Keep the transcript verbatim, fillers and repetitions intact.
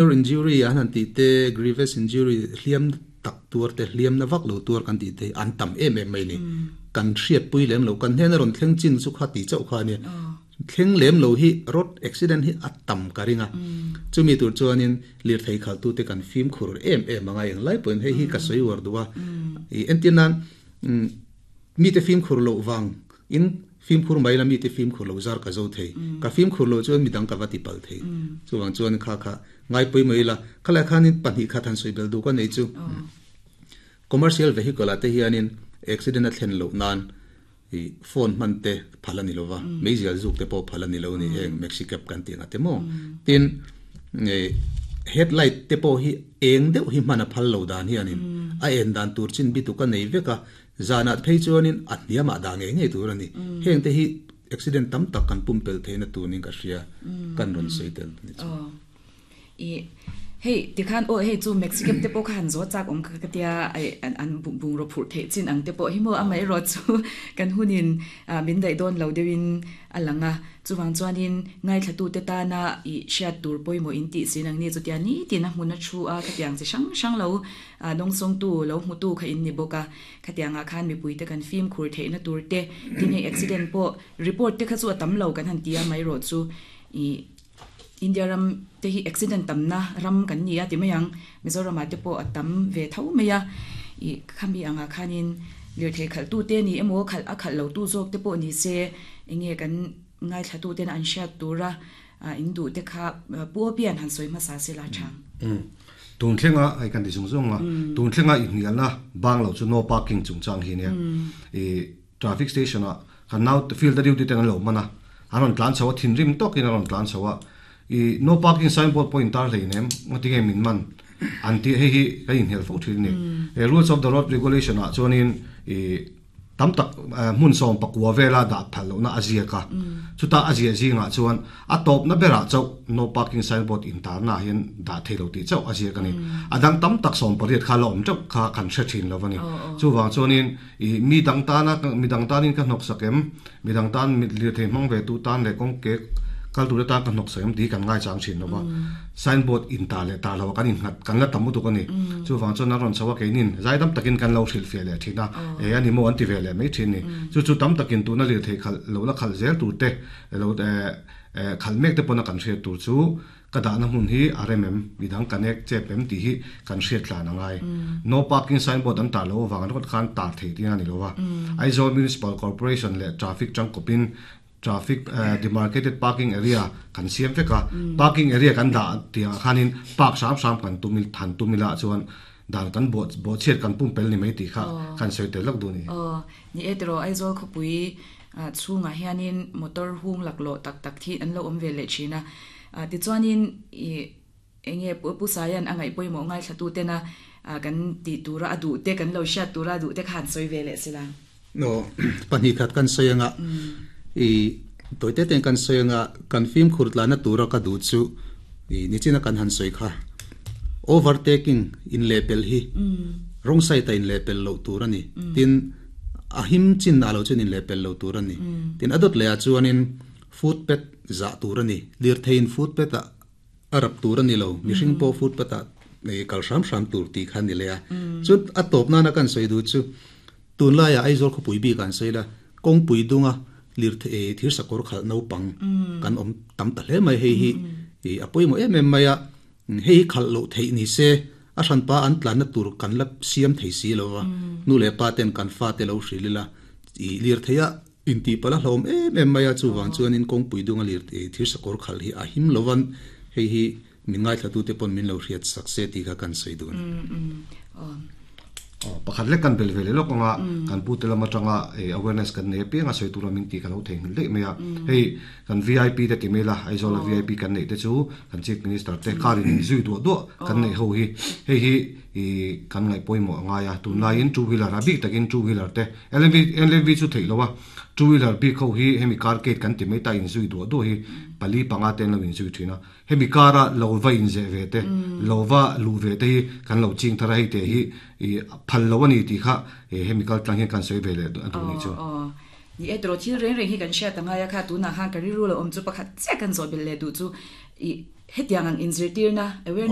Injury an han ti te, grievous injury, hliam tak tuar te, hliam na vak lo tuar kan ti te an tam em em mai ni. Kan hriat pui lem lo, kan hnen a rawn thleng chin chu kha ti chauh kha ania. Thleng lem lo hi road accident hi a tam ka ring a. Chumi tur chuanin lirthei khaltu te kan fimkhur em em anga eng lai pawhin hei hi ka sawi uar duh a. I entir nan mite fimkhur loh vang in fimkhur mai la, mite fimkhur lo zar ka zo thei. Ka fimkhur lo chuan midang ka va ti pal thei. Chuwang chuan kha kha ngai pui mai la. Khalai khanin pahnih kha than sawi bel du ka nei chu. Commercial vehicle ate hianin accident a thlen loh nan i phone hman te phal ani lova, meizial zuk te pawh phal ani lo ni, heng maxi cab kan tih anga te maw. Tin, headlight te pawh hi eng deuh hi hman a phal lo dan hianin a en dan tur chin bi tu ka nei vek a, zanah phei chuanin a hniamah dah ngei ngei tur ani. Heng te hi accident tam tak kan pumpel theihna tunin ka hria, kan rawn sawi tel ni chu. I hei tikhan o hei chu maxi cab te pawh kha han zo chak awm ka tia, ai an an bung ro phur theih chin ang te pawh hi maw. Amai ro chu kan hunin min daih dawn lo deuhin alanga, chuwang chuanin ngai thlatu te tana i hriat tur pawimawh in tih sin ang ni chu tia ni tin a hmun a thu a, khatiang chi hrang hrang lo dawng sawng tu lo hmu tu kha in ni bawk a. Khatianga khan mipui te kan fim khur theihna tur te, tin hei accident pawh report te kha chu a tam lo kan han tia, mai ro chu i India ram te hi accident tam na ram kan ni a ti mai ang. Mizoram ah te pawh a tam ve tho mai a. I khami anga khanin lirthei khalh tu te ni emaw, khalh a khalh lo tu zawk te pawh ni se, enge kan ngai thla tu ten an hriat tura in duh te kha pu pian han sawi hmasa se la thang. Tun thlenga ai kan ti zung zung a, tun thlenga i hnial na bang lo chu no parking chung chang hi nia. I traffic station a kan nau field duty ten an lo mana, an ron tlan chawa, thin rim tokin an ron tlan chawa, i no parking signboard point tar hlei nem, ngati nge min man an ti. Hei hi ka in hel fo thin ni. E rules of the road regulation a chuanin i tam tak hmun sawm pakua vela dah phal lo na azia ka chuta azia zinga chuan a top na bera chau no parking signboard in tar na hian dah theilo ti chau azia ka ni. Adang tam tak sawm pariat kha lo om chau kha kan hre thin lo ani. Chu wang chuanin i mi dang ta na, mi dang tanin ka hnok sakem, mi dang tan mi lir thei mang ve tu tan le kong ke kal tu ta ka hnok sakem ti kan ngai chang thin lova. Signboard in ta le ta lo kan in ngat kan la tam tu ka ni. Chu wang chuan ron chawa ke nin zaidam takin kan lo hril fe le thina e ani mo an ti ve le mai thin ni. Chu chu tam takin tu na lir thei khal lo la khal zel tu te lo khal mek te pona kan hriat tur chu ka da na mun hi R M M midang connect che pem ti hi kan hriat tlan angai. No parking signboard an tar lo wang an khan tar thei ti ani lova. Aizawl Municipal Corporation le traffic chang kopin traffic uh, demarcated parking area kan siam veka. Parking area kan da tia khanin park sam sam kan tumil than tumila chuan dan kan bo bo chiat kan pum pel ni mai ti kha kan soi tel lak du ni. Oh, ni etro Aizawl khopui chunga hianin motor hung laklo tak tak thi an lo om ve le thina. Ti chuanin i enge pu pu sayan angai poimo ngai thlatu te na kan ti tura adu te, kan lo sha tura du te khan soi ve le sila. No, pahnih khat kan soyanga, i toite ten kan soyanga, kan fim khurtla na tura ka du chu i nichina kan han soi kha, overtaking in lepel hi wrong side ta in lepel lo tur ani. Tin a him chin na lo chin in lepel lo tur ani. Tin adot le a chuanin footpath za tur ani. Lir thein footpath a arap tur ani lo, mihring po footpath a nei kal hram hram tur ti khan ni le a. Chu a top na na kan soi du chu tun lai a Aizawl kho pui bi kan sei la, kong pui dunga lir the thir sakor khal no pang kan om tam ta hle mai. Hei hi i apoi mo em em mai a, hei khal lo thei ni se a hran pa an tlan na tur kan la siam thei si lo wa. Nu le pa ten kan fa te lo hrilila i lir theia in ti pala hlom em em mai a. Chu wang chuan in kong pui dunga lir thir sakor khal hi a him lowan, hei hi min ngai thla tu te pon min lo hriat sak se ti kha kan sei dun. Pakhat lek kan bel vele lok anga, kan pu te lama tanga awareness kan nei pianga soi tura min ti ka lo thei le me a. Hei kan V I P te ti mela, Aizawl V I P kan nei te chu kan chief minister te karin zui du du kan nei ho hi. Hei hi i kan ngai poimo anga ya tun lai in two wheeler a bik takin two wheeler te L M V L M V chu thei lowa, two wheeler bi kho hi hemi car gate kan ti mai ta in zui du du hi pali panga ten lo in zui thina, hemi kara lo va in ze ve te lo va lu ve te hi kan lo ching thara. Hei te hi i phal lo ani ti kha hemi kal tlang hian kan soi ve le atu ni chu. Ni etro thil reng reng hi kan hriat anga ya kha. Tu na khan ka ri ru lo om chu pakhat che kan zo bel le du chu i Hetiang ang inzirtirna awareness.